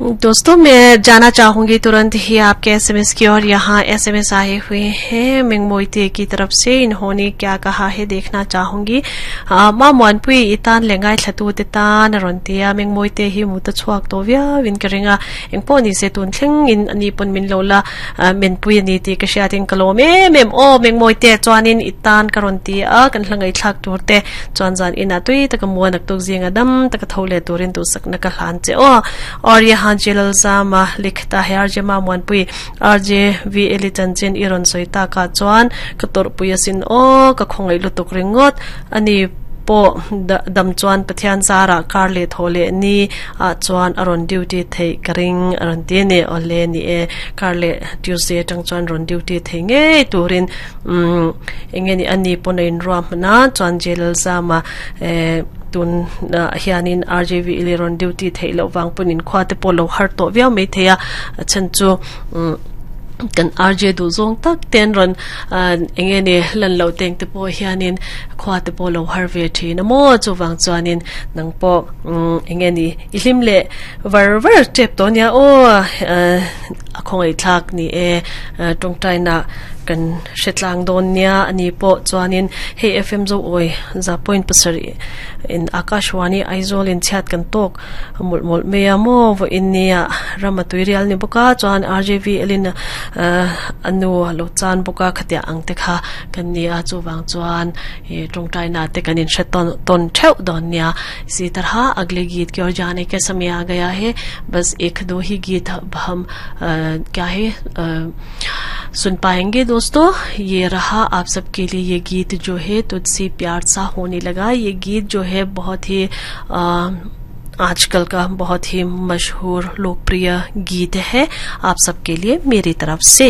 दोस्तों, मैं जाना चाहूंगी तुरंत ही आपके एसएमएस की और यहाँ एसएमएस आए हुए हैं मिंगमोइते की तरफ से। इन्होंने क्या कहा है देखना चाहूंगी। Ma Muanpui itan lengai thlatu te tan a rawn ti a, Mingmawite hi mu ta chhuak tawh viau in ka ring a, engpawh ni se tun thleng in ani pawn min lo la menpui a ni tih ka hriat in ka lawm em em aw Mingmawite chuanin i tan ka rawn ti a, kan hla ngaihthlak tur te chuan zan inah tui taka muan a tuk zinga dam taka tho leh turin duhsakna ka hlan che aw. Aw Yahan Jelalzama likhta he RJ Mamuanpui RJ VL i chanchin i rawn sawi takah chuan ka tawrhpui asin aw, ka khawngaih lutuk ringawt a ni pawh dam chuan Pathian zarah kar leh thaw leh ni ah chuan a rawn duty theih ka ring a rawn ti a ni. Awle ni e, kar leh Tuesday atang chuan rawn duty thei ngei turin umm eng nge ni a ni pawn a inruah hman a, chuan Jelalzama eh tun ah hianin RJV i rawn duty theih loh vang pawn inkhua te pawh lo har tawh viau maithei a, a chhan chu umm kan RJ duh zawng tak te an rawn eng nge ni lan loh teng te pawh hianin khua te pawh lo har ve thin a maw chuvang chuanin nang pawh eng nge ni i hlim leh var var tep tawh ania aw a khawngaihthlak ni e tawngtaina kan hre tlang dawn nia ani pawh chuanin hei FM zo awi za point pasarih in Akashvani Aizawl in chhiat kan tawk mawlh mawlh mai a maw vawiin nia ram a tui rial ni bawk a chuan RJV elin a nu a lo chan bawk a khatiang ang te kha kan ni a chuvang chuan ih tawngtai na te kan inhre tawn tawn theuh dawn nia isi tarha agle geet ki or jaane ke samay aa gaya hai bas ek do hi geet hum kya hai सुन पाएंगे दोस्तों। ये रहा आप सबके लिए ये गीत जो है तुझसे प्यार सा होने लगा। ये गीत जो है बहुत ही आजकल का बहुत ही मशहूर लोकप्रिय गीत है आप सबके लिए मेरी तरफ से।